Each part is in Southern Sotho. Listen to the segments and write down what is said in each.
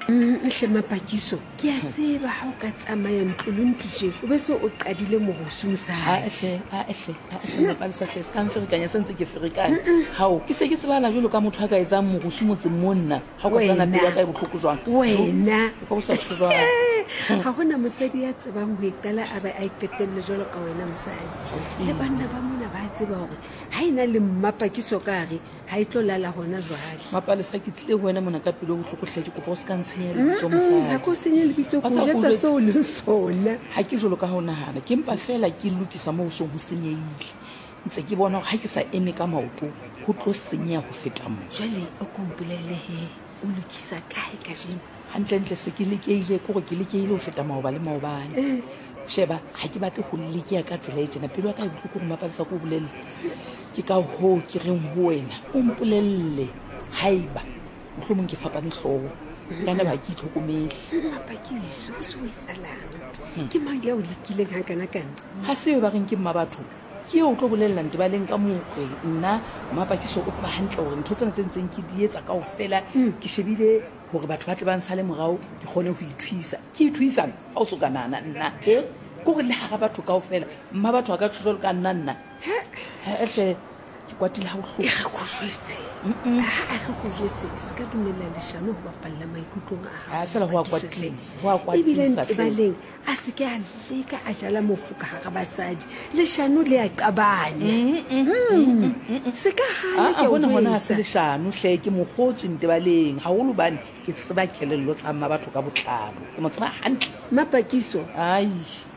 Hle Mapakiso, ke a tseba ha o ka tsamaya ntlo le ntlo tje, o be se o qadile morusu mosadi. Ae hle, ae hle, ae hle Mapalesa hle, se ka nferekanya se ntse ke ferekane. Hao, ke se ke tsebahala jwalo ka motho a ka etsang morusu motseng mo nna. Ha o ka tsana pelo ya ka e bohloko jwang. Wena. O ka bo sa tjho jwang. Ga gona mosadi ya tsebang ho e qala a be a e qetelle jwalo ka wena mosadi. Le banna ba mona ba tseba hore ha e na le Mmapakiso ka gare ga e tlo lala gona jwale. Mapalesa, ke tlile ho wena mona ka pelo e bohloko hle, ke kopa o se ka ntshenya lebitso mosadi. Ga ke o senye lebitso, ke o jwetsa seo o leng sona. Ga ke jwalo ka ha o nahana, ke mpa feela ke lokisa moo ho seng ho senyehile. Ntse ke bona hore ha ke sa eme ka maoto ho tlo senyeha ho feta mo. Jwale o ko mpolelle he, o lokisa kae kajeno? Hantlentle se ke lekehile, ke hore ke lekehile ho feta maoba le maobane. Sheba, ha ke batle ho lekeha ka tsela e tjena. Pelo ya ka e bohloko hore Mapalesa ke o bolelle. Ke ka hoo ke reng ho wena, o mpolelle haeba mohlomong ke fapane hlooho. Ka naba ha ke itlhokomele. Mapakiso, o se o etsalang? Ke mang ya o lekileng hakanakana? Ha se eo ba reng ke mmabatho? Ke eo o tlo bolella Ntebaleng ka moo hore nna Mmapakiso o tseba hantle hore ntho tsena tse ntseng ke di etsa kaofela ke shebile hore batho ba tle ba nsale morao ke kgone ho ithuisa. Ke ithuisang? Ha o so ka nahana nna e ke hore le hara batho kaofela mmabatho a ka tjho jwalo ka nna nna. He-e hle, ke kwatile ha bohloko. E re ko jwetse, ha a re ko jwetse, se ka dumella leshano ho bapalla maikutlong a hao. Ha feela ho a kwatisa, ho a kwatisa Ebile hle. Ntebaleng a se ke a leka a jala mofoka hara basadi. Leshano le a qabanya. Se ka hana, ke a o Hona hona ha se jwetsa. leshano hle, ke mokgotswe Ntebaleng, haholo hobane ke tseba kelello tsa mmabatho ka botlalo. Ke mo tseba hantle. Mmapakiso, Ai.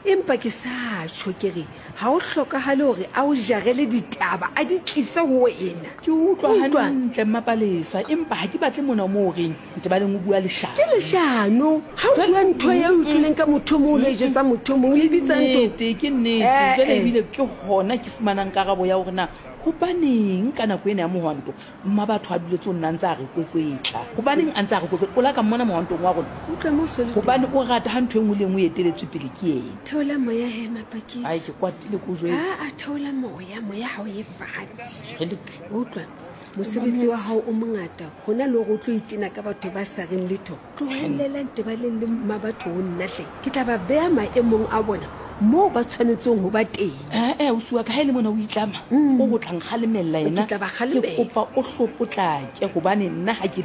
Empa ke sa tjho ke re ha ho hlokahale hore a o jarele ditaba a di tlise ho wena. Ke utlwa hantle Mmapalesa, empa ha ke batle mona moo o reng Ntebaleng o bua leshano. Ke leshano ha o bua ntho e o utlwileng ka motho o mong o lo e jetsa motho o mong, o e bitsa ntho. Ke nnete, ke nnete. Jwale ebile ke hona ke fumanang karabo ya hore na hobaneng ka nako ena ya mohwanto Mmabatho a duletse ho nna a ntse a re kwekwetla. Hobaneng a ntse a re kwekwetla? O la ka mmona mohwantong wa rona? Utlwa moo so le teng. Hobane o rata ha ntho e nngwe le e nngwe e eteletswe pele ke yena. Theola moya he, Mapakiso. Ai, ke kwatile ke o jwetse. Aa, theola moya, moya ha o ye fatshe. Kgelek. Utlwa, mosebetsi wa hao o mongata hona le hore o tlo itena ka batho ba sa reng letho. Tlohellelang Tebaleng le Mmabatho ho nna hle. Ke tla ba beha maemong a bona moo ba tshwanetseng ho ba teng. Ee, ausi wa ka, ha e le mona o itlama, o ho tla nkgalemella yena. Ke tla ba kgalemela. Ke kopa o hlo potlake, hobane nna ha ke.